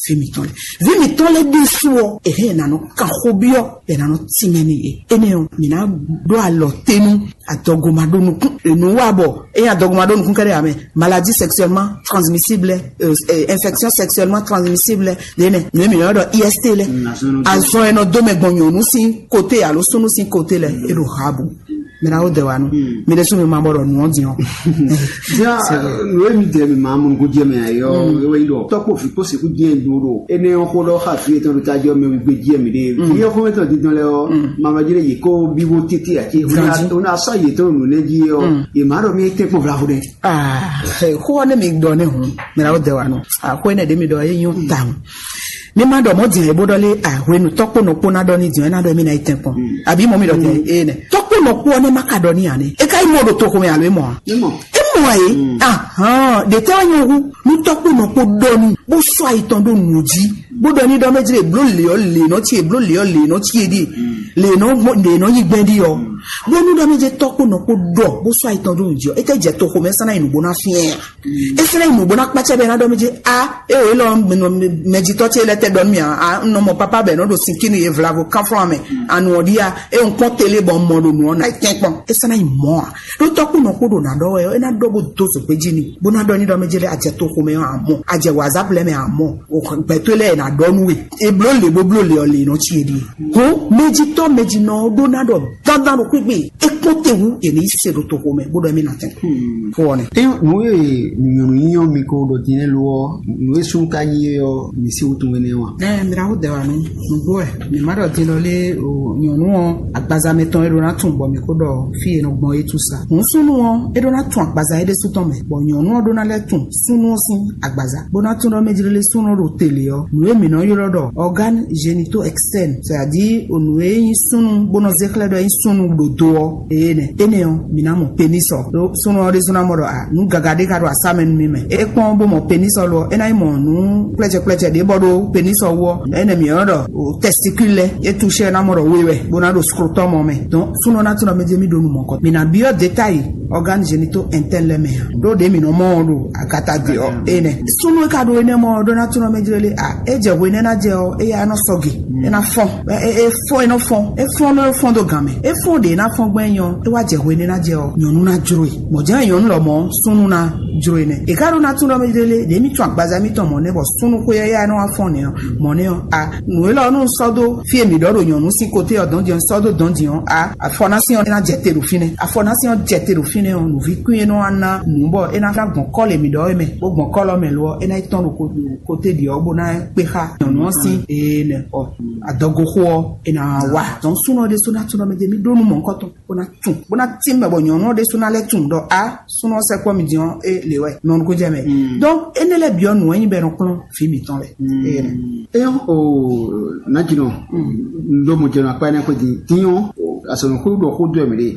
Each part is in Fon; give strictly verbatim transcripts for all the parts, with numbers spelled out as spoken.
Vǐ mǐtɔn lɛ́ɛ, vǐ mǐtɔn lɛ́ɛ ɖésú ɔ́, è hɛn è nǎ nɔ kan xó byɔ́, è nǎ nɔ tínmɛ n'i é. Énɛ́ ɔ́, mǐ ná ɖó alɔ tenu adɔgo ma ɖó nukún. Nǔ wa bɔ ényí adɔgo ma ɖó nukún kɛ́ɖɛ́ ǎ mɛ, maladie sexuellement transmissible, euh, euh, infection sexuellement transmissible, ɖé nɛ nǔ e mǐ nɔ ɖɔ I S T lɛ. Azɔn e nɔ dó mɛ gbɔn nyɔ̌nu sín côté alo súnnu sín côté lɛ, é ɖo ha bu. Mira wo dɛ wa nu. Mi ɖe sún mi ma bɔ ɖɔ nǔ ɔ́ din ɔ́. Dia, nú emi dɛ mi ma mɔ nukú jɛ mɛ ayɔ, ewé yi ɖɔ tɔkpo fi kpo seku diɛ do ɖo ene ɔn xo ɖɔ xa fi etɔn ɖo ta jɔ mɛ gbe jɛ mi ɖe. Fi ɔn xo etɔn dindɔn lɛ ɔ, ma ma jɛ ye ko bi wo tete ati. Ona sa ye tɔn nu ne ji ɔ, ye ma ɖɔ mi tɛ kpɔn vla vo ɖe. Ah, xo ɔ́ ne mi ɖɔ ne hun, mira wo dɛ wa nu. Ah, xo ene ɖe mi ɖɔ ye nyɔ ta hun. Mi ma ɖɔ mɔ din e bó ɖɔ lé, ah, hwenu tɔkpo nɔ kpo na ɖɔ ni din ɛ na ɖɔ mi na yi tɛ kpɔn. Abi mɔ mi ɖɔ tɛ e nɛ. Tɔkpo nɔ kpo ɔ́ ne ma ka ɖɔ ni ane. E ka yi mɔ ɖo toxo mɛ alo e mɔ a? E mɔ. E mɔ a ye. Ahɔn, ɖe tɛ wa nyɔ hu. Nu tɔkpo nɔ kpo ɖɔ ni. Bó sɔ ayi tɔn ɖo nu jí. Bó ɖɔ ni ɖɔ mɛ jí le blo le ɔ le nɔ ci e blo le ɔ le nɔ ci e ɖi. Le nɔ mɔ le nɔ yi gbɛ ɖi ɔ. Bó nu ɖɔ mɛ jí tɔkpo nɔ kpo ɖɔ. Bó sɔ ayi tɔn ɖo nu jí ɔ. E tɛ jɛ toxo mɛ sanna yi nugbo na fiɛ. E sɛ́n yi nǔgbó ná kpácá bɛ́ ná ɖɔ mí jí a é o élɔ́ mɛjitɔ́ ce lɛ́ tɛ ɖɔ nú mì a nɔ mɔ pápá bɛ́ nɔ ɖo sinkínu e vlavo kánflɔ́n mɛ anu ɔ́ ɖíe a é un kpɔ́n télé bɔ un mɔ ɖo nǔ ɔ́ ná yi tɛ́nkpɔ́n. É sɛ́n ná yi mɔ̌ a ɖó tɔ́kpó nɔ kpó ɖo nǎ ɖɔ wɛ ɔ́, é ná ɖɔ bó dó zǒgbé jí ni bó ná ɖɔ ní ɖɔ mí jí lɛ́ a jɛ toxo mɛ ɔ́ a mɔ, a jɛ wǎzáblɛ́ mɛ a mɔ, gbɛtɔ́ lɛ́ɛ ná ɖɔ nú we. E bló lě bó bló lě ɔ́ lě nɔ cí e ɖíe. Hɔn mɛjitɔ́ mɛjinɔ ɔ́ ɖó ná ɖɔ dandan ɖo kpíkpé. E kpɔ́n te hú e ní se ɖo toxo mɛ bó ɖɔ mí ná tɛn. Fo ɔ́ nɛ. Eyɔn nǔ e nyɔ̌nu nyínyɔ́ mi ko ɖɔ din lɛ́ɛ lo ɔ́, nǔ e súnnu ka nyí é ɔ́, mi sí wútu énɛ́ wa? Ɛ mìɖaxó dɛ wa nú nǔgbó wɛ mǐ má ɖɔ din lɔ lé o nyɔ̌nu ɔ́ agbaza mɛtɔn e ɖó ná tun bɔ mǐ kó ɖɔ fí e nɔ gbɔn é tú sa. Hǔn súnnu ɔ́ é ɖó ná tun agbaza é ɖésú tɔn mɛ, bɔ nyɔ̌nu ɔ́ ɖó ná lɛ́ tun súnnu ɔ́ sín agbaza, bó ná tún ɖɔ mɛ jlélé súnnu ɔ́ ɖo télé ɔ́, nǔ e mǐ nɔ ylɔ́ ɖɔ organe génitaux externes, c'est-à-dire nǔ e nyí súnnu bó nɔ zé xlɛ́ ɖɔ é nyí súnnu ɖo do ɔ́, ée nɛ. Énɛ́ ɔ́, mǐ ná mɔ pénis ɔ́. Ɖó súnnu ɔ́ ɖésú ná mɔ ɖɔ a nǔ gaga ɖé ka ɖo asá mɛ nú mì mɛ. É kpɔ́n bó mɔ pénis ɔ́ lo ɔ́, é ná nyí mɔ nǔ kplɛ́cɛ kplɛ́cɛ ɖě bɔ ɖó pénis ɔ́ wú ɔ́, énɛ́ mǐ nɔ ɖɔ testicule lɛ́ɛ é touché ná mɔ ɖɔ we wɛ, bó ná ɖo scrotum ɔ́ mɛ. Donc súnnu ɔ́ ná tún ɔ́ mɛ jɛ mì ɖó nú mɔ̌ kɔ. Mǐ ná byɔ́ détail organe génitaux interne lɛ́ɛ mɛ ǎ. Ɖó ɖě mǐ nɔ mɔ ɔ́ ɖo agata ɖě ɔ́, énɛ́. Súnnu e ka ɖo énɛ́ mɔ ɔ́ ɖó ná tún ɔ́ mɛ jlé lé a é jɛ hwe énɛ́ ná jɛ ɔ́, éyá é nɔ sɔ́ gě. É ná fɔ́n. É é fɔ́n é nɔ fɔ́n. É fɔ́n nɔ fɔ́n dó gǎn mɛ. É fɔ́n ɖě é ná fɔ́n gbɛn nyɔ. É wá jɛ hwe énɛ́ ná jɛ ɔ́, nyɔ̌nu ná jló e. Mɔ̌ jɛ́n nyɔ̌nu lɔ mɔ̌ súnnu ná jló e nɛ. È ká ɖó ná tún ɔ́ mɛ jlé lé, ɖě mì tún agbaza mítɔn mɔ̌ nɛ́ bɔ súnnu xwé éyá é nɔ wá fɔ́n nɛ́ ɔ́, mɔ̌ nɛ́ ɔ́, a nǔ élɔ́ nú sɔ́ dó fí e mǐ ɖɔ ɖo nyɔ̌nu sín koté ɔ́ dɔn jɛ́n sɔ́ dó dɔn din ɔ́, a afɔnásín ɔ́ ná jɛ te ɖo fínɛ́. Afɔnásín ɔ́ jɛ te ɖo fínɛ́ ɔ́, nǔví kwín e nɔ wá ná nǔ bɔ é ná ná gbɔn kɔ́ lě mǐ ɖɔ é mɛ, bó gbɔn kɔ́ lɔ mɛ lo ɔ́, é ná yi tɔ́n ɖo ko- koté ɖě ɔ́ bó ná kpé xá nyɔ̌nu ɔ́ sín ee nɛ ɔ adɔgoxo ɔ́, é ná wá. Dɔn súnɔ ɖésú ná tún ɖɔ mɛ jɛ mí ɖó nú mɔ̌hunkɔtɔn bó ná tún bó ná tín mɛ bɔ nyɔ̌nu ɔ́ ɖésú ná lɛ́ tún ɖɔ a súnɔ ɔ́ sɛkpɔ́ mi din ɔ́ é lě wɛ nɔ nukún jɛ mɛ. Donc énɛ́ lɛ́ɛ byɔ́ nǔ wɛ nyí bɔ é nɔ kplɔ́n vǐ mǐtɔn lɛ. Ee nɛ. Eyɔn o najinɔ ndo mo jɛnɔ akpa ne ko di diɲɔ asɔnukun ɖɔ xó dó ɛmɛ ɖe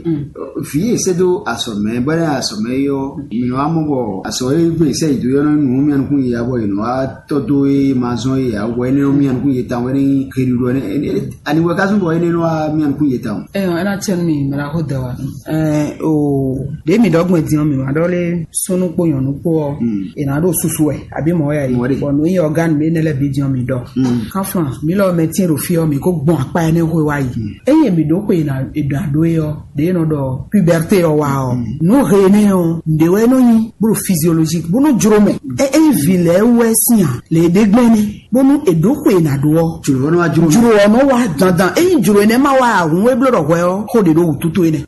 vi ese do asɔmɛ bɔ ne asɔmɛ yɔ mi nɔ amɔ bɔ asɔ ye gbe sɛ yi do yɔ nɔ nu mi anukun yi abɔ yi nɔ atɔ do ye ma zɔn ye awɔ ene nɔ mi anukun ye tan wɛ ne keri ɖɔ ne ani wɛ kasun bɔ ene nɔ mi anukun ye tan. Eyɔn ena tiɛ mi mɛ la xó dɛ wa. Ɛɛ o ɖe mi ɖɔ gbɛn diɲɔ mi ma ɖɔ le sunu kpo nyɔnu kpo ɔ e na ɖo susu wɛ abi mɔ ya yi bɔn nu yi ɔgan mi ne lɛ bi diɲɔ mi ɖɔ kanflan mi lɔ mɛ tiɛ ɖo fi ɔ mi ko gbɔn akpa ɛnɛ xwe wa yi eye mi ɖo xwe na eɖa ɖo ye ɔ ɖe nɔ ɖɔ puberté ɔ wa ɔ nu he ne ɔ nɖe wɛ nɔ nyi blo physiologique bó nɔ jro mɛ e e vi lɛ wɛ sian le ɖe gbɛn ne bónú è ɖǒ xwe è nǎ ɖó ɔ́, jlǒ ɔ́ nɔ wá jló jlǒ ɔ́ nɔ wá dandan. Ényí jlǒ énɛ́ ma wá ǎ hǔn é bló ɖɔ hwɛ ɔ́, xó ɖě ɖo wǔtútú énɛ́.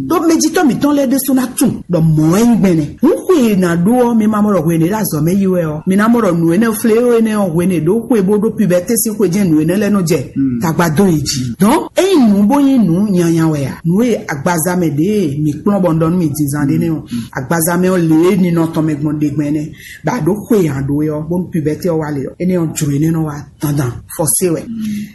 Ɖó mɛjitɔ́ mǐtɔn lɛ́ɛ ɖésú ná tunwun ɖɔ mɔ̌ wɛ nyí gbɛn nɛ́. Hǔn xwe è nǎ ɖó ɔ́, mi ma mɔ ɖɔ hwenu e ɖo azɔ̌ mɛ yi wɛ ɔ́, mi ná mɔ ɖɔ nǔ énɛ́ flé énɛ́ ɔ́, hwenu e ɖǒ xwe bó ɖó pibɛtɛ́ sín xwe jɛ́n nǔ énɛ́ lɛ́ɛ nɔ jɛ tagba dó yě jí. Dɔn ényí nǔ bó nyí nǔ nyanya wɛ ǎ, nǔ e agbaza mɛ ɖě mi kplɔ́n bɔ un ɖɔ nú mi din zan ɖé nɛ́ ɔ́, agbaza mɛ ɔ́ lě e ninɔ tɔn mɛ gbɔn ɖe gbɛn nɛ́, bɔ a ɖǒ xwe ǎ ɖó é ɔ́, bónú pibɛtɛ́ ɔ́ wá le ɔ́, énɛ́ ɔ́ jlǒ énɛ́ nɔ wá dandan fɔsé wɛ.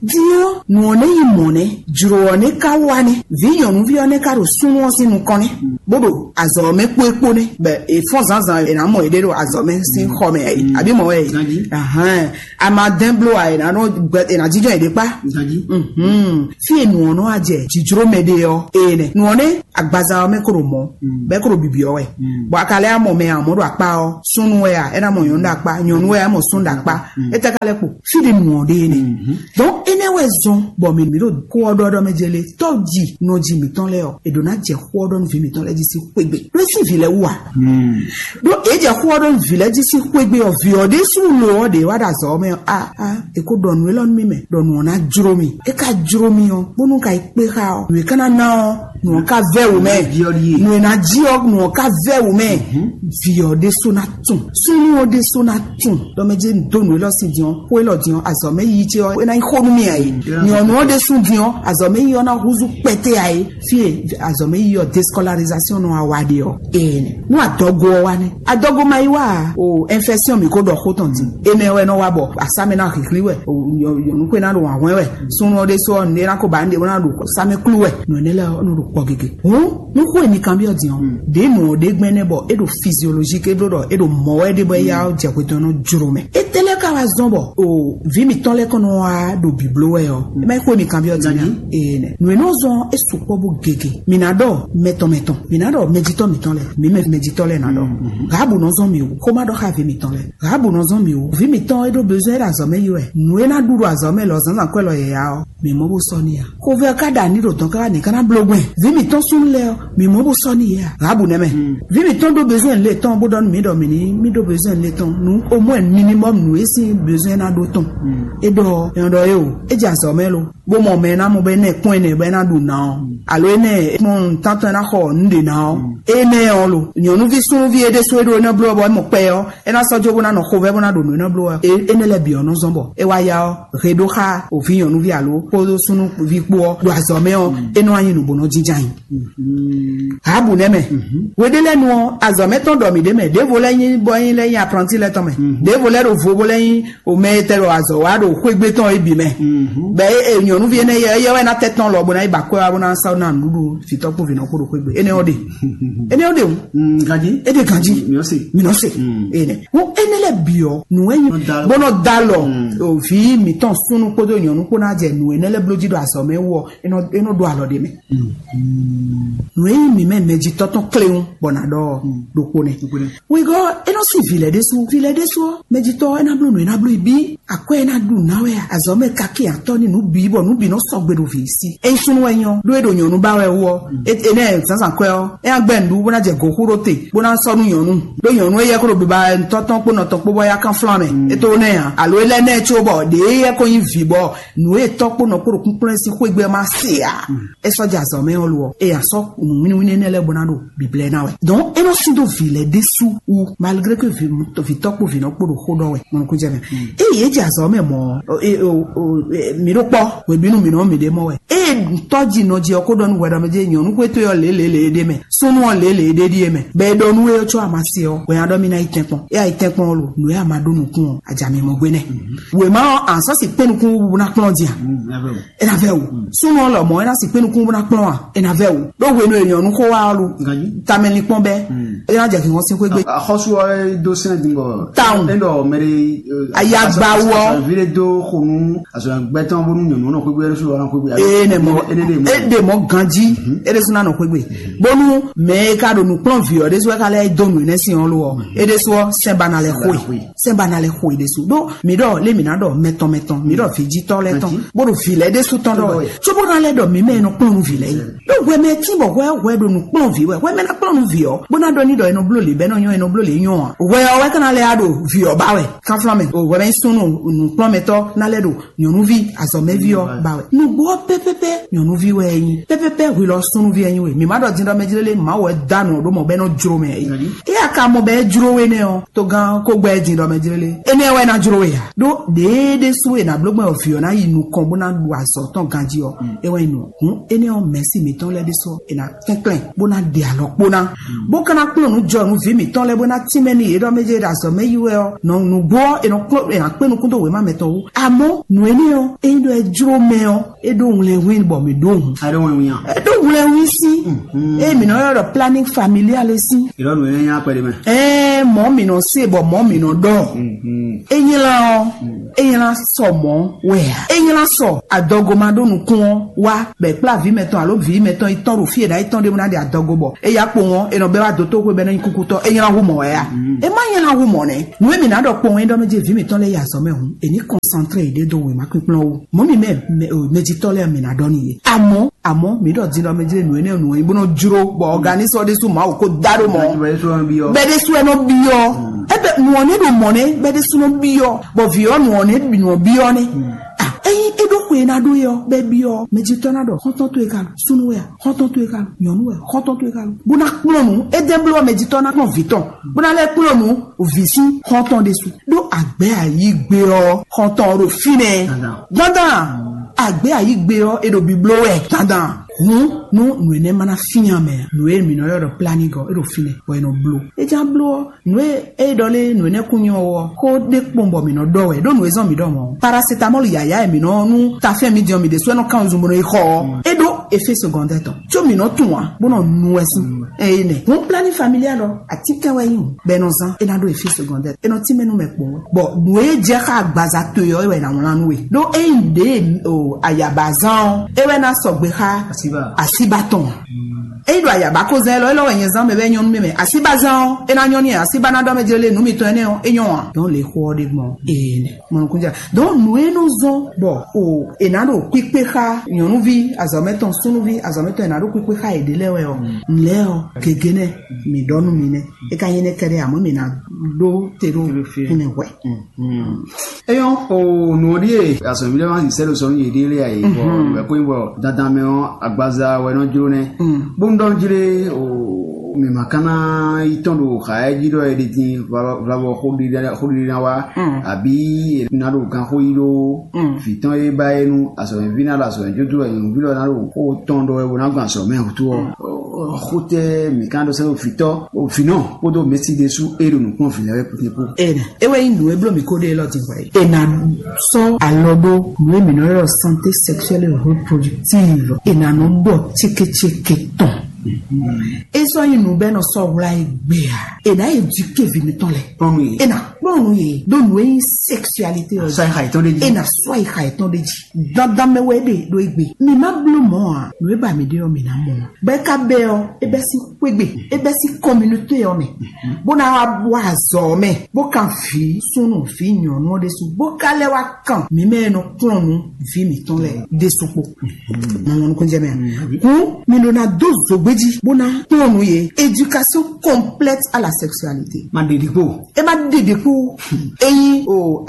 Din ɔ́, nǔ ɔ́ nɛ́ nyí mɔ̌ nɛ́, jlǒ ɔ́ nɛ́ ka wá nɛ́, vǐ nyɔ̌nuví ɔ́ nɛ́ ka ɖo súnnu ɔ́ sín nukɔn nɛ́, bó ɖo azɔ̌ ɔ́ mɛ kpó é kpó nɛ́, bɔ è fɔ́n zǎnzǎn è nǎ mɔ yěɖée ɖo azɔ̌ mɛ sín xɔ mɛ, àbí mɔ̌ wɛ? Ahán, a ma dɛn bló a, è nǎ nɔ gbɛ, è nǎ jínjɔ́n yěɖée kpá. Mhm. Fí e nǔ ɔ́ nɔ wá jɛ jǐjló mɛ ɖe ɔ́, ee nɛ nǔ ɔ́ nɛ́ agbaza ɔ́ mɛ kó ɖo mɔ̌, bɔ é kó ɖo bibyɔ́ wɛ. Bɔ a ka lɛ́ mɔ mɛ amɔ̌ ɖo akpá ɔ́, súnnu wɛ a, é ná mɔ nyɔ̌nu ɖo akpá, nyɔ̌nu wɛ a mɔ súnnu ɖo akpá. É tɛ́ ka lɛ́ kpo? Fí ɖé nǔ ɔ́ ɖe nɛ. Donc énɛ́ wɛ zɔn bɔ mǐ mǐ ɖo xó ɔ́ ɖɔ ɖɔ mɛ jɛ lé, tɔ́ ji nɔ ji mǐtɔn lɛ́ɛ ɔ́, è ɖǒ ná jɛ xó ɔ́ ɖɔ nú vǐ mǐtɔn lɛ́ɛ jí sín xwé gbe. Ɖó é sín vǐ lɛ́ɛ wú a? Ɖó é jɛ xó ɔ́ ɖɔ nú vǐ lɛ́ɛ jí sín xwé gbe ɔ́, vǐ ɔ́ ɖésú lo ɔ́ ɖě wá ɖo azɔ̌ ɔ́ mɛ ɔ́, a a è ko ɖɔ nǔ élɔ́ nú mì mɛ, ɖɔ nǔ ɔ́ ná jló mì. É ka jló mì ɔ́, bónú ka yi kpé xá ɔ́, nǔ e ka ná ná ɔ́, nǔ ɔ́ ka vɛ́ wǔ mɛ. Nǔ e ná jí ɔ́, nǔ ɔ́ ka vɛ́ wǔ mɛ. Vǐ ɔ́ ɖésú ná tun, súnnu ɔ́ ɖésú ná tun. Ɖɔ mɛ jɛ dó nǔ élɔ́ sin din ɔ́, xó élɔ́ din ɔ́, azɔ̌ mɛ yí ce ɔ́, é ná nyí xó nú mì ǎ é. Nyɔ̌nu ɔ́ ɖésú din ɔ́, azɔ̌ mɛ yí ɔ́ ná húzú kpɛtɛ ǎ é. Fí e azɔ̌ mɛ yí ɔ́, déscolarisation nɔ wa ɖe ɔ́, ee nú adɔgo ɔ́ wá nɛ́. Adɔgo ma yi wá a? O infection mi ko ɖɔ xó tɔn din. Énɛ́ wɛ nɔ wá bɔ asámɛ ná hǐhlí wɛ, o nyɔ̌nu xwé ná ɖo wǎnhwɛ́n wɛ. Súnnu ɔ́ ɖésú ɔ́, nǔɖé ná ko ba nǔɖé bó ná ɖo sámɛ klú wɛ. Nǔ énɛ́ lɛ́ɛ ɔ́ nɔ ɖo kpɔ gěgé. Hǔn nú xó e mi kanbyɔ́ din ɔ́, ɖě nǔ ɔ́ ɖé gbɛn nɛ́ bɔ é ɖo physiologique é bló ɖɔ é ɖo mɔ̌ wɛ ɖé bɔ é yá jɛ hwetɔn nɔ jló mɛ. Étɛ́ lɛ́ɛ ka wá zɔ́n bɔ o vǐ mitɔn lɛ́ɛ kɔn nɔ wá ɖo bǐbló wɛ ɔ́, é má nyí xó e mi kanbyɔ́ din a? Ee nɛ. Nǔ e nɔ zɔn é sukpɔ́ bó gege. Mǐ ná ɖɔ mɛtɔn mɛtɔn, mǐ ná ɖɔ mɛjitɔ́ mǐtɔn lɛ́ɛ, mǐ mɛ mɛjitɔ́ lɛ́ɛ ná ɖɔ. Rahabu nɔ zɔn mì wú, xó má ɖɔ xá vǐ mitɔn lɛ́ɛ. Rahabu nɔ zɔn mì wú, vǐ mitɔn e ɖó bezɔn é ɖo azɔ̌ mɛ yi wɛ. Nǔ e ná ɖu ɖo azɔ̌ mɛ lɔ zǎnzǎn kwɛ́ lɔ yɛ̌yá ɔ́, mǐ mɔ bó sɔ́ n'i ǎ. Xovɛ́ ɔ́ ka ɖo ani ɖo dɔ̌n káká nǐ ká ná bló gbɛn. Vǐ mǐtɔn súnnu lɛ́ɛ ɔ́, mǐ mɔ bó sɔ́ n'i ǎ. Rahabu nɛ́ mɛ. Vǐ mǐtɔn ɖó bezɔn lě tɔn bó ɖɔ nú mǐ ɖɔ mǐ ní mí ɖó bezɔn lě tɔn. Nǔ au moins minimum nǔ e sín bezɔn ná ɖó tɔn. É ɖɔ ɔ́, é nɔ ɖɔ é o, é jɛ azɔ̌ mɛ lo. Bó mɔ mɛ e ná mɔ bɔ é ná kpɔ́n ɛnɛ bɔ é ná ɖu ná ɔ́, alo é ná kpɔ́n tántɔn é ná xɔ nǔ ɖě ná ɔ́, énɛ́ ɔ́ lo. Nyɔ̌nuví súnnuví é ɖésú é ɖó é ná bló ɔ́ bɔ é mɔ kpɛ ɔ́, é ná sɔ́ jó bó ná nɔ xovɛ́ bó ná ɖo nǔ é ná bló ɔ́. É énɛ́ lɛ́ɛ bǐ ɔ́ nɔ zɔ́n bɔ é wá ya ɔ́, he ɖó xá òví nyɔ̌nuví alo kpódó súnnuví kpó ɔ́ ɖo azɔ̌ mɛ ɔ́, é nɔ wá nyí nǔ bó nɔ jínjɔ́n ayǐ. Habu nɛ́ mɛ. Hweɖé lɛ́ɛ nu ɔ́, azɔ̌ mɛ tɔn ɖɔ mǐ ɖ'é mɛ. Ɖěvo lɛ́ɛ nyí bɔ é nyí lɛ́ɛ nyí apranti lɛ́ɛ tɔn mɛ. Ɖěvo lɛ́ɛ ɖo vo bó lɛ́ɛ nyí omɛ e tɛ ɖo azɔ̌ wa ɖo xwégbé tɔn é bǐ mɛ. Bɛ é nyɔ̌nuví énɛ́ yɛ éyɛ́ wɛ ná tɛ́ tɔn lɔ bó ná yi ba kwɛ́ wá bó ná sá ná nǔɖuɖu vǐtɔ́ kpó vǐnɔ kpo ɖo xwégbé. Énɛ́ ɔ́ ɖe. Énɛ́ ɔ́ ɖe. Ganjí. É ɖe ganjí. Mi ɔ́ se. Mi nɔ se. Énɛ́. Wo énɛ́ lɛ́ɛ bǐ ɔ́, nǔ e nyí bó nɔ da alɔ. Òví mǐtɔn súnnu kpódó nyɔ̌nu kpó ná jɛ nǔ énɛ́ lɛ́ɛ bló jí ɖo azɔ̌ mɛ wú ɔ́, é nɔ é nɔ ɖó alɔ ɖ'é mɛ. Nǔ e nyí mǐ mɛ mɛjitɔ́ tɔn kléwún bɔ nǎ ɖɔ ɖokpó nɛ́. Wegɔ́ é nɔ sín vǐ lɛ́ɛ ɖésú. Vǐ lɛ́ɛ ɖésú ɔ́, mɛjitɔ́ é ná bló nǔ é ná bló yi bí akwɛ́ é ná ɖu ná wɛ azɔ̌ mɛ kakí atɔ́ ní nǔ bǐ bɔ nǔ bǐ nɔ sɔgbe ɖo vǐ sí. É nyí súnnu wɛ nyɔ́ ɖó é ɖo nyɔ̌nu ba wɛ wú ɔ́, énɛ́ zǎnzǎn kwɛ́ ɔ́, é ná gbɛ́ nǔɖuɖu bó ná jɛ gǒxú ɖó te bó ná sɔ́ nú nyɔ̌nu. Ɖó nyɔ̌nu éyɛ́ kó ɖo biba ntɔ́ tɔn kpó nɔ tɔn kpó bɔ é yá kán flán mɛ. É tó nɛ́ ǎ. Alo é lɛ́ nɛ́ có bɔ ɖě éyɛ́ kó nyí vǐ bɔ nǔ e tɔ́ kpó nɔ kpó ɖo kúnklɔ́n sín xwé gbé má se ǎ. É sɔ́ jɛ azɔ̌ mɛ ɔ́ lo ɔ́, é ya sɔ́ nǔwínníwínní énɛ́ lɛ́ɛ bó ná ɖo bǐblɛ́ ná wɛ. Donc é nɔ sín dó vǐ lɛ́ɛ ɖésú wú, malgré que vǐ vǐtɔ́ kpó vǐnɔ kpó ɖo xó ɖɔ wɛ, mɔnukúnjɛ mɛ. Ée yě jɛ azɔ̌ mɛ mɔ̌ ɔ́, mǐ ɖo kpɔ́ hwebǐnu mǐ nɔ mǐ ɖe mɔ wɛ. Ée tɔ́ ji nɔ ji ɔ́ kó ɖɔ nú hwɛɖɔmɛ jɛ nyɔ̌nu xwé towe ɔ́ lě lě lě ɖé mɛ, súnnu ɔ́ lě lě ɖé ɖíe mɛ, bɔ é ɖɔ nú é có amasi ɔ́, hwɛ nya ɖɔ mì ná yi tɛ́nkpɔ́n. É yi tɛ́nkpɔ́n ɔ́ lo, nǔ e a ma ɖó nukún ɔ́, ajǎ mi mɔ gbé nɛ́. Wěma ɔ́, a sɔ́ si kpé nukún wú bó ná kplɔ́n din a? É ná vɛ wǔ. Súnnu ɔ́ lɔmɔ̌ é ná si kpé nukún bó ná kplɔ́n a? É ná vɛ wǔ. Ɖó hwenu e nyɔ̌nu xó wá ɔ́ lo, tamɛ linkpɔ́n bɛ́, é ná jɛ hǐnhɔ́n sín xwé gbe. Axɔ́sú ɔ́ é dó sɛ́n din bɔ Tawun. É ɖɔ mɛ ɖé Ayagba wú ɔ́. Vǐ ɖé dó xo nú azɔ̌gbɛ́tɔ́ bónú nyɔ̌nu ɔ́ nɔ xwé gbe, é ɖésú ɔ́ nɔ xwé gbe. Ee nɛ mɔ. É ɖe mɔ. É ɖe mɔ ganjí. É ɖésú ná nɔ xwé gbe. Bónú mɛ e ka ɖo nǔ kplɔ́n vǐ ɔ́ ɖésú wɛ ka lɛ́ dó nǔ énɛ́ sin ɔ́ lo ɔ́, é ɖésú ɔ́ sɛ́n ba ná lɛ́ xo e. Sɛ́n ba ná lɛ́ xo e ɖésú. Ɖó mǐ ɖɔ lé mǐ ná ɖɔ mɛtɔn mɛtɔn, mǐ ɖɔ vǐjítɔ́ lɛ́ɛ tɔn, bó ɖo vǐ lɛ́ɛ ɖésú tɔn ɖɔ wɛ. Cóbó ná lɛ́ ɖɔ mǐ mɛ e nɔ kplɔ́n nú vǐ lɛ́ɛ é. Ɖó hwɛ mɛ tín bɔ hwɛ hwɛ ɖo nǔ kplɔ́n vǐ wɛ. Hwɛ mɛ ná kplɔ́n nú vǐ ɔ́, bó ná ɖɔ ní ɖɔ e nɔ bló lě bɛ́ nɔ nyɔ́, e nɔ bló lě nyɔ́ ǎ. Hwɛ ɔ́ wɛ ka ná lɛ́ ɖo vǐ ɔ́ ba wɛ. Kánflán mɛ, o hwɛ mɛ nyí súnnu nǔkplɔ́nmɛtɔ́ ná lɛ́ ɖo nyɔ̌nuví azɔ̌mɛví ɔ́ ba wɛ. Nǔgbó ɔ́ pɛ́pɛ́pɛ́ nyɔ̌nuví wɛ é nyí. Pɛ́pɛ́pɛ́ hwi lɔ súnnuví wɛ nyí we. Mǐ má ɖɔ din ɖɔ mɛ jlélé, mǐ má wɔ dá nǔ ɖó mɔ bɔ é nɔ jló mɛ é. É a ka mɔ bɔ é jló we nɛ́ ɔ́, togán kó gbɛ́ din ɖɔ mɛ jlélé. Énɛ́ wɛ ná jló we ǎ. Ɖó ɖěe ɖésú e nǎ bló gbɔn vǐ ɔ́ ná yi nukɔn bó ná ɖu azɔ̌ tɔn ganjí ɔ́, é wɛ nyí nǔ. Hǔn énɛ́ ɔ́, mɛ̌si mǐtɔn lɛ́ɛ ɖésú ɔ́, è nǎ tɛ́nklɛ́n bó ná ɖe alɔ kpó ná. Bó ka ná kplɔ́n nǔ jɔ nú vǐ mǐtɔn lɛ́ɛ bó ná tínmɛ n'i yě ɖɔ mɛ jɛ ɖo azɔ̌ mɛ yi wɛ ɔ́, nɔ nǔgbó ɔ́, è nɔ kplɔ́n è nǎ kpé nukún dó wěma mɛtɔn wú. Amɔ̌ nǔ énɛ́ ɔ́, ényí ɖɔ é jló mɛ ɔ́, é ɖó wlɛnhwɛ́ bɔ mi ɖó hun. Aɖɔwɛnwia. Ɖó hwlɛnwi sín. Eye mi nɔ ylɔ́ ɖɔ planning familial sín. Ìlọ́nu yẹn nyá pẹ̀lú mẹ́. Ɛɛ mɔ mi nɔ se bɔ mɔ mi nɔ ɖɔ. Enyla ɔ enyla sɔ mɔ wɛ a? Enyla sɔ adɔgo ma ɖo nukun ɔ wa bɛ kpla vi mɛtɔn alo vi mɛtɔn yi tɔn ɖo fi e ɖa yi tɔn ɖe mu na ɖe adɔgo bɔ eya kpo ŋɔ e nɔ bɛ wa do to xwe bɛ nɔ nyi kukutɔ enyla hu mɔ wɛ a? E ma nyla hu mɔ nɛ. Nu e mi na ɖɔ kpo ŋɔ e ɖɔ mɛ je vi mitɔn lɛ yi azɔ mɛ hu e ni concentré yi ɖe do wema kpikplɔn wu. Mɔ mi mɛ mɛ o mɛjitɔ lɛ mi na ɖɔ ni ye. Amɔ amɔ mi ɖɔ din ɖɔ mɛ je nu enɛ nu yi bɔ nɔ jro bɔ organisme ɖe su ma o ko da ɖo mɔ. Bɛ ɖe su ɛnɔ biɔ. Ebe nu ɔ ne ɖo mɔ ne bɛ ɖe su nɔ biɔ bɔ vi ɔ nu ɔ ne nu ɔ biɔ ne. Eyi e ɖo xwe na ɖo yɔ bɛ biɔ mɛjitɔ na ɖɔ xɔntɔn to e ka lo sunu wɛ a xɔntɔn to e ka lo nyɔnu wɛ xɔntɔn to e ka lo bo na kplɔn nu e dɛ blɔ mɛjitɔ na kplɔn vitɔn bo na lɛ kplɔn nu vi sín xɔntɔn ɖe su ɖo agbɛ ayigbe ɔ xɔntɔn ɖo finɛ dandan agbɛ ayigbe ɔ e ɖo biblo wɛ dandan hun nu nu enɛ mana finya mɛ nu e mi nɔ yɔ ɖɔ planning ɔ e ɖo finɛ bɔ e nɔ blo e ja blo ɔ nu e e ɖɔ lé nu enɛ kun nyɔ wɔ xó ɖe kpɔn bɔ mi nɔ ɖɔ wɛ ɖo nu e zɔn mi ɖɔ mɔ paracetamol yaya e mi nɔ nu tafɛn mi diɔ mi ɖe so e nɔ kan zun bo nɔ yi xɔ ɔ e ɖo effet secondaire tɔn tso mi nɔ tun wa bó nɔ nu wɛ sín eye nɛ hun planning familial ɔ atikɛ wɛ yi bɛ nɔ zan e na ɖo effet secondaire e nɔ tínmɛ nu mɛ kpɔn bɔ nu e jɛ xa agbaza to yɔ e wɛ na wlan nu we ɖo e yi ɖe o ayaba zan ɔ e wɛ na sɔgbe xa asiba tɔn eyi ɖo ayaba ko zan elɔ elɔ wɛ nyɛ zan mɛ bɛ nyɔnu mɛ mɛ asiba zan ɔ e na nyɔ ni asiba na ɖɔ mɛ jɛ le nu mitɔn ɛnɛ ɔ e nyɔ wa dɔn le xɔ ɔ ɖe gbɔn ee nɛ mɔnukúnjà donc nu e nɔ zɔn bɔ o e na ɖo kpikpe xa nyɔnuvi azɔmɛtɔn súnnuvi azɔmɛtɔn e na ɖo kpikpe xa e ɖe lɛ wɛ ɔ nlɛ ɔ gege nɛ mi ɖɔ nu mi nɛ e ka nyɛ nɛ kɛɖɛ amɔ mi na ɖo te ɖo kúnɛ hwɛ. Eyɔn o nù ɔ ɖíe azɔ̌ví lɛ́ɛ ma sisɛ ɖo sɔnú yěɖée lé ayé bɔ ìwé kó nyí bɔ dandan mɛ ɔ́ agbaza wɛ nɔ jló nɛ́ bó ń ɖɔ jlé o mǐ ma ka ná yi tɔn ɖo xa ɛ jí ɖɔ è ɖi din vlavɔ xóɖiɖi ná wá àbí è ná ɖo ganxó yí ɖó vǐ tɔn e ba é nú azɔ̌mɛví ná ɖo azɔ̌mɛ jódó wɛ nyɔ̌nuví lɔ ná ɖo xó tɔn ɖɔ wɛ bó ná gbɔn azɔ̌mɛ wútu ɔ́ xótɛ́ mǐ ka ɖó sɛ́ ɖo vǐtɔ́ vǐnɔ kpódó mɛ̌si ɖésú é ɖo nǔkplɔ́n vǐ lɛ́ɛ wɛ kpótépó. Ena, é wɛ nyí nǔ e bló mǐ ko ɖe élɔ́ din hwɛ é. Ena sɔ́ alɔ ɖó nǔ e mǐ nɔ ylɔ́ santé sexuelle et reproductive. Ena nɔ ɖɔ cékécéké tɔn. É sɔ́ nyí nǔ bɛ́ nɔ sɔ́ hwlá é gbé a? Ena éduqué vǐ mitɔn lɛ. Ena kplɔ́n nǔ yě ɖó nǔ e nyí sexualité ɔ́. Sɔ́ yi xa yětɔn ɖé jí. Ena sɔ́ yi xa yětɔn ɖé jí. Dandan mɛ wɛ é ɖe ɖó égbé. Mi má bló mɔ̌ ǎ, nǔ e ba mi ɖe ɔ́, mi ná mɔ. Bɔ é ka bɛ ɔ́, é bɛ́ sín xwégbè, é bɛ́ sín communauté ɔ́ mɛ, bó ná wá wá azɔ̌ ɔ́ mɛ, bó kan vǐ súnnu vǐ nyɔ̌nu ɔ́ ɖésú, bó ka lɛ́ wá kan mǐ mɛ e nɔ kplɔ́n nǔ vǐ mǐtɔn lɛ́ɛ ɖésú kpó. Mɔ nukúnjɛ mɛ. Kún mi ɖó ná dó zǒgbé jí, bó ná kplɔ́n nǔ yě. Éducation complète à la sexualité. Má ɖe ɖi kpó. É má ɖe ɖi kpó. Ényí o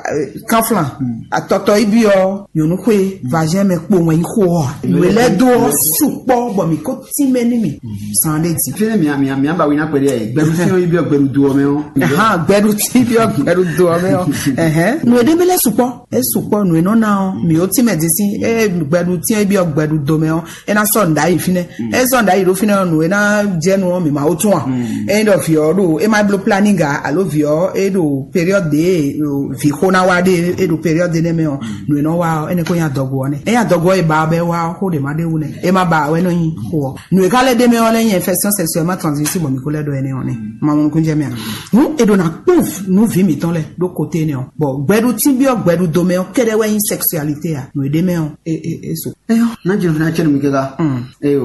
kanflan atɔtɔ yi byɔ nyɔnu xwe vazɛn mɛ kpo wɛn yi xo ɔ wele do sukpɔ bɔ mi ko ti mɛ ni mi san de di. Fɛnɛ mia mia mia ba wina kpɛɖe yɛ gbɛɖu fi yi byɔ gbɛɖu do ɔmɛ ɔ. Ahan gbɛɖu ti byɔ gbɛɖu do ɔmɛ ɔ. Ɛhɛn nu ede mi lɛ sukpɔ e sukpɔ nu enɔ na ɔ mi o ti mɛ di si e gbɛɖu ti e byɔ gbɛɖu do mɛ ɔ e na sɔ nda yi finɛ e sɔ nda yi ɖo finɛ ɔ nu e na jɛ nu ɔ mi ma o tún wa. E ɖɔ vi ɔ ɖo e ma blo planning a alo vi ɔ e ɖo période de vi xo na wa ɖe e ɖo période de nɛ mɛ ɔ nu e nɔ wa ɔ ene ko nya dɔgo ɔ nɛ e nya dɔgo ɔ e ba bɛ wa ɔ xo ɖe ma ɖe wu nɛ e ma ba wɛ nɔ nyi xo ɔ nu e ka lɛ ɖe mɛ ɔ lɛ nyi infection sexuellement transmissible bɔ mi ko lɛ ɖɔ ɛnɛ ɔ nɛ ma mɔ nukun jɛ mɛ a nu e ɖo na kpɔn nu vi mitɔn lɛ ɖo kote nɛ ɔ bɔn gbɛɖu ti bi ɔ gbɛɖu do mɛ ɔ kɛɖɛ wɛ nyi sexualité a nu e ɖe mɛ ɔ e e e so. Eyɔ, na jɛn fina cɛ nu mi kɛka. Eyɔ,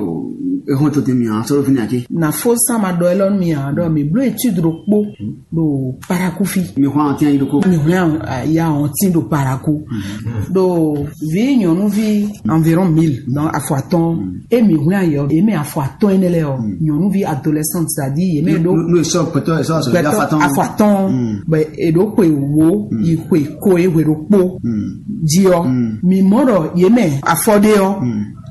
ehɔn to te mi a sɔrɔ fina cɛ. Na fo sama dɔ elɔ mi a dɔ mi blo étude ɖokpo ɖo paraku fi. Mi hɔn ati ayi ɖokpo. Mi hɔn ya ɔn ti ɖo paraku. Ɖo vi nyɔnuvi environ mille donc afɔ atɔn. E mi hɔn ayɔ e mɛ afɔ atɔn ene lɛ ɔ nyɔnuvi adolescente c'est-à-dire ye mɛ ɖo. N'o sɔ pɛtɔ sɔ sɔ afɔ atɔn. Afɔ atɔn bɛ eɖo xwe wo yi xwe ko e hwe ɖokpo. Ji ɔ mi mɔ ɖɔ ye mɛ afɔ ɖe ɔ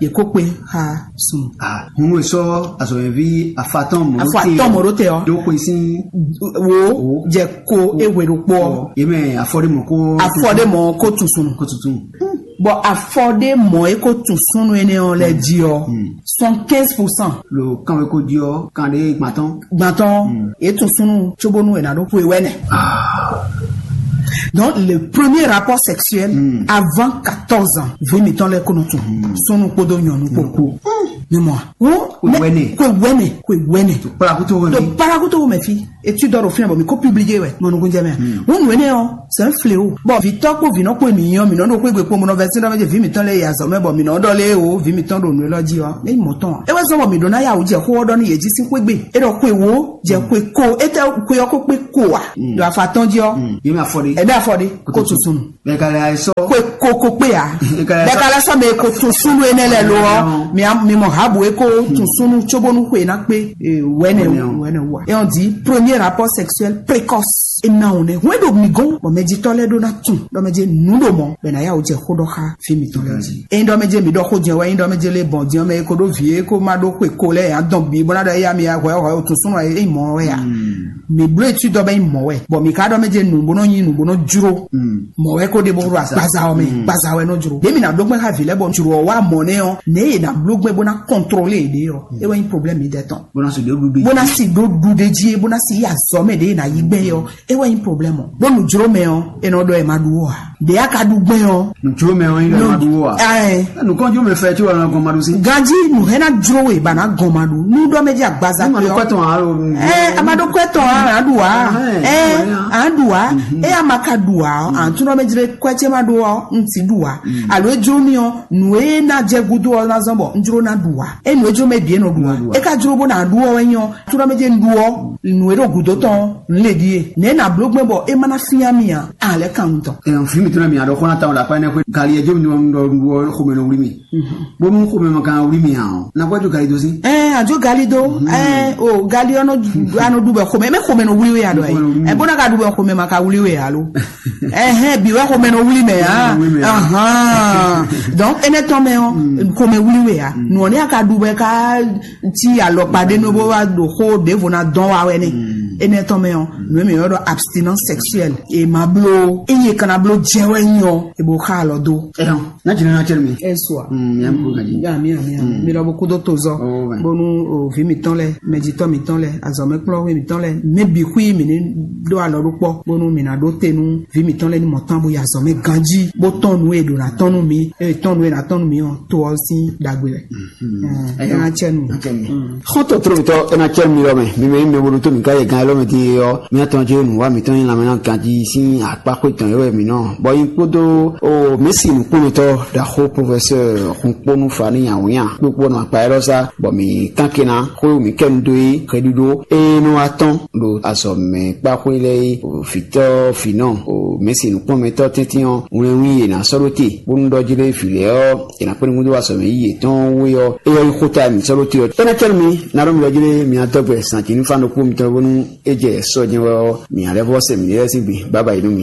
ye ko kpe xa sun. Hun e sɔ azɔyɛvi afatɔn mɔ afɔ atɔn mɔ ɖo te ɔ do kpe sin wo jɛ ko ewe ɖo kpɔ. Ye mɛ afɔ ɖe mɔ ko afɔ ɖe mɔ ko tun sun ko tuntun. Bɔn afɔ ɖe mɔ e ko tun sunnu ene ɔ lɛ ji ɔ cent quinze pour cent. Lo kan we ko di ɔ kan ɖe gbatɔn. Gbatɔn e tun sunnu tsobonu e na ɖo xwe wɛ nɛ. Donc, le premier rapport sexuel avant quatorze ans, vǐ mǐtɔn lɛ́ɛ kó nɔ tunwun. Súnnu kpódó nyɔ̌nu kpó. Mi mɔ a? Wo Kwe wɛnɛ. Kwe wɛnɛ, kwe wɛnɛ. Parakuto wɛ. Donc, parakuto wɛ mɛ fi. Étude ɖo fínɛ bɔ mi ko publié wɛ, mɔ nukun jɛ mɛ. Wo nù énɛ́ ɔ́, c'est un fléau. Bon, vǐtɔ́ kpó vǐnɔ kpó mi nyɔ, mi nɔ ɖo xwé gbe kpó, mo nɔ vɛ sín ɖɔ mɛ jɛ vǐ mǐtɔn lɛ́ɛ yi azɔ̌ mɛ bɔ mi nɔ ɖɔ lé o, vǐ mǐtɔn ɖo nǔ élɔ́ jí ɔ́, é nyí mɔ̌ tɔn. É wɛ zɔ́n bɔ mǐ ɖó ná ya wǔ jɛ xó ɔ́ ɖɔ nú yě jí sín xwé gbe. É ɖɔ xwe wǒ, jɛ xwe ko, étɛ́ xwe ɔ́ ko kpé ko a? Ɖo afa tɔn jí ɔ́. Yé mi afɔ ɖe. Ɛbɛ afɔ ɖe, ko tun sunu. Bɛkala sɔ. Ko ko ko kpe ya. Bɛkala sɔ. Bɛkala sɔ mɛ ko tun sunu enɛ lɛ lo ɔ. Mi am- mi mɔ habu e ko tun sunu tso bonu xwe na kpe. Eh, wɛnɛ. Wɛnɛ o. Wɛnɛ wa. Et on dit premier rapport sexuel précoce. E na o nɛ. Wɛ do mi gɔn. Bɔn mɛ jitɔ lɛ do na tun. Dɔ mɛ je nu do mɔ. Bɛ na ya o jɛ xo dɔ xa. Fi mi tɔn lɛ ji. E dɔ mɛ je mi dɔ xo jɛ wɛ. E dɔ mɛ je le bɔn jɛ mɛ ko do vie ko ma do xwe ko lɛ ya dɔn bi. Bɔn na dɔ ya mi ya hwɛ hwɛ o tun sunu e mɔ wɛ ya. Mi blo etu dɔ bɛ mɔ wɛ. Bɔn mi ka dɔ mɛ je nu bɔ nɔ nyi nu bɔ nɔ juro. Mɔ wɛ ko de bo ro agbaza ɔ mɛ, gbaza wɛ nɔ juro. Ɖe mi na bló gbɛn xa vi lɛ bɔ juro ɔ wa mɔ nɛ ɔ, ne e na bló gbɛn bo na kɔntrɔle ɖe ɔ, e wɛ nyi problème mi dɛ tɔn. Bó ná sì dó ɖuɖu. Bó ná sì dó ɖu ɖe jí, bó ná sì yi azɔ mɛ ɖe na yi gbɛ yɔ, e wɛ nyi problème ɔ. Bó nu juro mɛ ɔ, e nɔ dɔ e ma ɖu wɔ a. Ɖe a ka ɖu gbɛn ɔ. Nùjó mɛ ɔ yín lɛ ma ɖu wɔ a. Ɛ. Nùkɔnjú mi fɛ tí wọ́n gɔn ma ɖu sí. Ganji nu hɛn na juro we ba na gɔn ma ɖu. Nu dɔ mɛ dzi agbaza. Ní ma ɖo kɔtɔn alo. Ɛ, a ma ɖo kɔtɔn a na ɖu wa. Ɛ, a na ɖu wa. E a ma ka ɖu wa ɔ, a tún dɔ mɛ dzi kɔɛ tse ma ɖu ɔ, n ti ɖu wa. Alo e jro mi ɔ, nu e na jɛ gudo ɔ na zɔn bɔ n jro na ɖu wa. E nu e jro mɛ bie nɔ ɖu wa. E ka jro bo na ɖu ɔ wɛ nyɔ. Tún dɔ mɛ dzi n ɖu ɔ, nu e ɖo gudo tɔn, n le ɖie. Ne na blo gbɛ bɔ e ma na fia mi a, a lɛ kan ŋutɔ. Ɛn, fi mi tún mi aɖɔ xɔna tawon ɖe akpa ɛnɛ xwe gali ɛdzo mi nɔ ɖɔ ɖu ɔ xɔmɛ nɔ wuli mi. Bonu xɔmɛ ma kan wuli mi a ɔ. Na gbɛdzo gali do si. Ɛn, adzo gali do. Ɛn, o gali ɔnɔ anɔ ɖu bɛ xɔmɛ, mɛ xɔmɛ nɔ wuli we a dɔ yi. Ɛn, bona ka ɖu bɛ xɔmɛ ma ka wuli we alo. Ɛhɛn, bi wɛ xɔmɛ nɔ wuli mɛ a. Wuli mɛ a. Ahan. Donc, enɛ tɔn mɛ ɔ, xɔmɛ wuli we a. Nɔ ne a ka ɖu bɛ ka ti alɔkpa ɖe nɔ bó wá ɖo xó ɖěvo ná dɔn wa wɛ nɛ. Enɛ tɔn mɛ ɔ, nú mi yɔ ɖɔ abstinence sexuelle. E ma blo, e ye kana blo jɛ wɛ nyɔ, e bo xa alɔ do. Ɛhɔn, na jina na cɛ mi. Esua. Mm, ya mi ko gaji. Ya mi ya mi ya mi. Mi lɔ bo kudo to zɔ. Oh, ouais. Bonu o vi mi tɔn lɛ, mɛjitɔ mi tɔn lɛ, azɔmɛkplɔ mi tɔn lɛ, mɛ bi xui mi ni ɖo alɔ ɖo kpɔ, bonu mi na ɖo te nu vi mi tɔn lɛ ni mɔ tán bo ya azɔmɛ ganji, bo tɔn nu e ɖo na tɔn nu mi, e tɔn nu e na tɔn nu mi ɔ, to ɔ sin dagbe lɛ. Ɛhɔn. Ɛna cɛ nu. Xɔ́ntɔn tlómitɔ ena cɛ mi lɔ mɛ, mi mɛ mi mɛ bolo to mi ka yɛ gan lɔ mɛ ti yɔ, mi atɔn jɛ nu wa mi tɔn yin lamɛ na ganji sin akpa xwe tɔn yɛ wɛ mi nɔ. Bɔ yin kpodo o mesi nukpɔnɔtɔ daxo professeur xunponu fani awunya kpokpo nɔ akpa yɛ lɔ sa, bɔ mi kan kena xo mi kɛ nu do yi xeɖuɖo e nɔ atɔn ɖo azɔ mɛ kpa xwe lɛ yi o fitɔ finɔ o mesi nukpɔnmɛtɔ tɛntin ɔ, ŋlɛnwi yě na sɔ́ ɖó te, bónú ɖɔ jí lé vǐ lɛ́ɛ ɔ́, è nǎ kpé nú gúdo wá sɔmɛ yí yětɔn wé ɔ́, é ɔ́ nyí xó ta mǐ sɔ́ ɖó te ɔ́. É ná cɛ́ nú mi, ná ɖɔ mi lɛ́ jí lé mi ná dɔ́ gbɛ zǎn jí nú fán ɖokpó mitɔn bónú é jɛ sɔ́ jɛ́n wɛ ɔ́, mǐ ná lɛ́ vɔ́ sɛ mǐ lɛ́ɛ sín gbe. Bǎbǎ yi nú mi.